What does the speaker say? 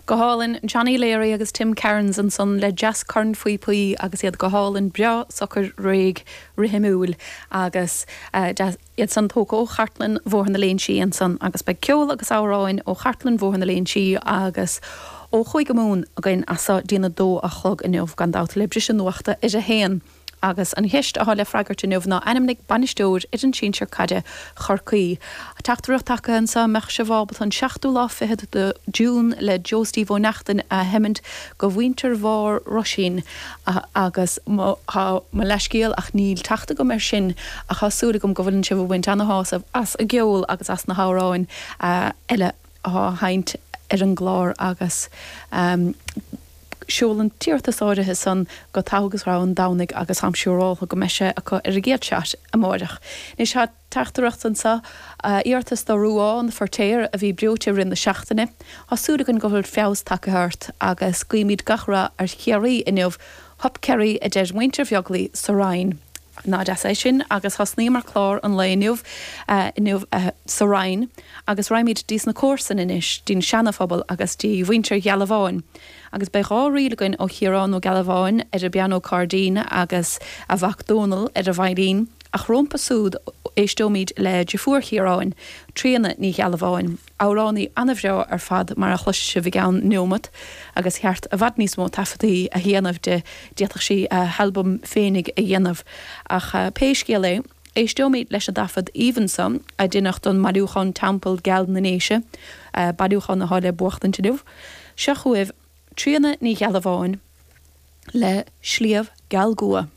Go hálainn, Johnny Leary agus Tim Cairns ansan le deas cornphíopaí agus iad go hálainn breá socair réidh rithimiúil agus deas iad san tógtha ó chartlann Bhóthar na Léinsí ansan agus beidh ceol agus amhráin ó chartlann Bhóthar na Léinsí agus ó Chúige Mumhan againn as so dtí'n 2 a chlog inniu gan dabht le briseadh nuachta ar a haon. Agus an cheist atá le freagairt inniu ná ainmnigh bainisteoir fhoireann sinsir caide Chorcaí. Teachtaireacht tagtha anseo, an mbeadh sibh ábalta an seachtú lá fichead de June le Joe Steve Ó Neachtain a sheimint go mhuintir Bharr Roisín agus mo mo leathscéal ach níl teacht agam air sin ach tá súil agam go bhfuileann sibh ag baint ana-shásamh as an gceol agus as na hamhráin eile atá á sheinnt ar an gclár agus Seol an t-iarratas áirithe san go Togha agus Rogha an Domhnaigh agus táim siúráltha go mbeidh sé acu ar an gcéad shot amáireach. Anois tá teachtaireacht anso, iarratas do Ruán Feirtéar a bhí breoite i rith na seachtaine. Tá súil againn go bhfuil feabhas tagtha ort agus guímid gach rath ar Chiarraí inniu. Hup Kerry a deir muintir Bheaglaoí sa Rinn. Nach deas é sin agus thosnaíomar clár an lae inniu inniu sa Rinn agus raghaimid dtí sna comharsain anois, dtí'n Seana-Phobal agus dtí mhuintir Ghealbháin. Agus beidh 2 ríl againn ó Chiarán Ó Gealbháin ar an bpianó cairdín agus a mhac Dónal ar an veidhlín, ach rómpa súd éisteoimid le deirfiúr Chiaráin, Tríona Ní Ghealbháin, amhránaí ana-bhreá ar fad mar a chloisfidh sibh i gceann neomat, agus cheart i bhfad níos mó taifeadtaí a dhéanamh di, d'fhéadfadh sí a halbam féinig a dhéanamh. Ach pé scéal é, éisteoimid leis an dtaifead aoibhinn so a deineadh don mbailiúchán Teampall Geal na nDéise, bailiúchán atá le buachtaint inniu. Seo chugaibh Tríona Ní Ghealbháin le Sliabh Geal Gcua.